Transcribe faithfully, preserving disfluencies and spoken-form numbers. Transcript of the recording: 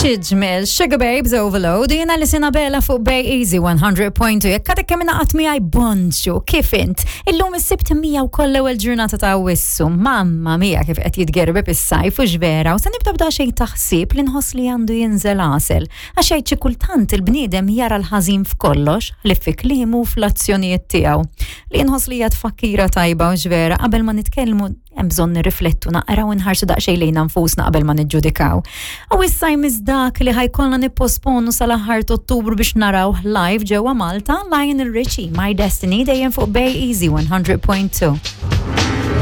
X'ġmiel, Sugababes, Overload, jiena li Sinabela fuq Bay Easy one hundred point two. Jekk għadek kemm ingħaqadt miegħi, bonġu, kif int? Illum is-Sibt mija wkoll l-ewwel ġurnata ta' Awwissu. Mamma mia, kif qed jitgerbeb is-sajf, u vera, u se nibda b'da xejn taħsib li nħoss li għandu jinżel għasel. Għax jgħid xi kultant il-bniedem jara l-ħażin f'kollox li fi kliemu, fl-azzjonijiet tiegħu. Li nħoss li hija tfakkira tajba, u vera, qabel ma nitkellmu hemm bżonn nirriflettu naqra u nħarsu daqsxejn lejna nfusna qabel ma niġġudikaw. U issa jmiss dak li ħa jkollna nipposponu sal-aħħar Ottubru biex naraw live ġewwa Malta, Lionel Richie, My Destiny, dejjem fuq Bay Easy one hundred point two.